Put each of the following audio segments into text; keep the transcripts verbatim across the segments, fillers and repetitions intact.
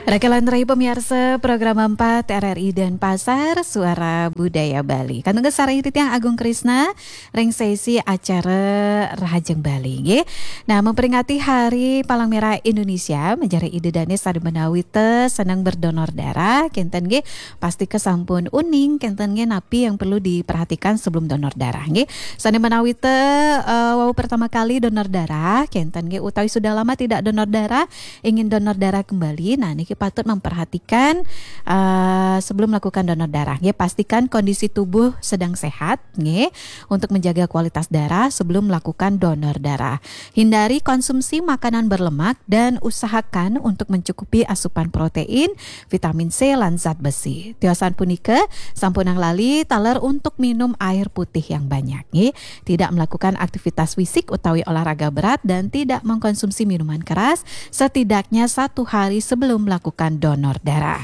Rakelan rai pamiarsa program empat R R I Denpasar, Suara Budaya Bali. Kantun sareng titiang Agung Krisna ring sesi acara Rahajeng Bali nggih. Nah, memperingati Hari Palang Merah Indonesia, manjari ida dane sane menawi te seneng berdonor darah, kenten nggih, pastika sampun uning kenten nggih napi yang perlu diperhatikan sebelum donor darah nggih. Sane menawi te eh, wau pertama kali donor darah, kenten nggih, utawi sudah lama tidak donor darah, ingin donor darah kembali, nah niki patut memperhatikan eh, sebelum melakukan donor darah nggih, pastikan kondisi tubuh sedang sehat nggih, untuk menjaga kualitas darah sebelum melakukan donor darah. Hindari konsumsi makanan berlemak dan usahakan untuk mencukupi asupan protein, vitamin C lan zat besi. Tiosan punika sampunang lali taler untuk minum air putih yang banyak nggih. Tidak melakukan aktivitas fisik utawi olahraga berat dan tidak mengkonsumsi minuman keras setidaknya satu hari sebelum melakukan donor darah.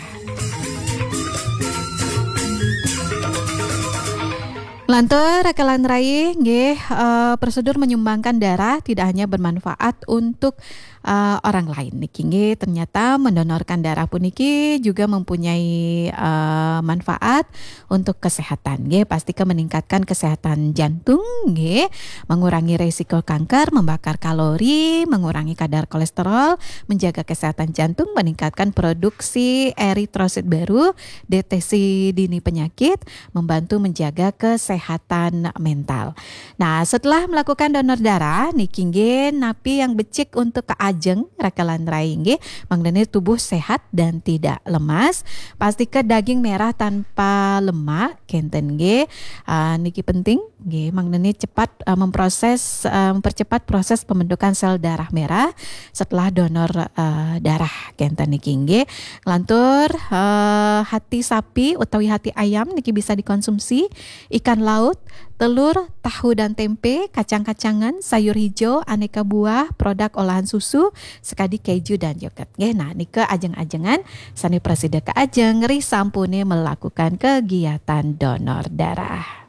Lantur, Rakelan rai nggih, eh, prosedur menyumbangkan darah tidak hanya bermanfaat untuk eh, orang lain niki nggih, ternyata mendonorkan darah puniki juga mempunyai eh, manfaat untuk kesehatan nggih, pastika meningkatkan kesehatan jantung nggih, mengurangi resiko kanker, membakar kalori, mengurangi kadar kolesterol, menjaga kesehatan jantung, meningkatkan produksi eritrosit baru, deteksi dini penyakit, membantu menjaga kesehatan mental. Nah, setelah melakukan donor darah niki nggih, napi yang becik untuk kaajeng, Rakelan rai nggih, mangdane tubuh sehat dan tidak lemas. Pastika daging merah tanpa lemak kenten nggih. Ah, niki penting nggih, mangdane cepat eh, memproses eh, mempercepat proses pembentukan sel darah merah setelah donor eh, darah kenten niki nggih. Lantur eh, hati sapi utawi hati ayam niki bisa dikonsumsi, ikan laut, telur, tahu dan tempe, kacang-kacangan, sayur hijau, aneka buah, produk olahan susu, sekadi keju dan yogurt. Nggih, nah nika ajeng-ajengan sane prasida kaajeng ri sampune melakukan kegiatan donor darah.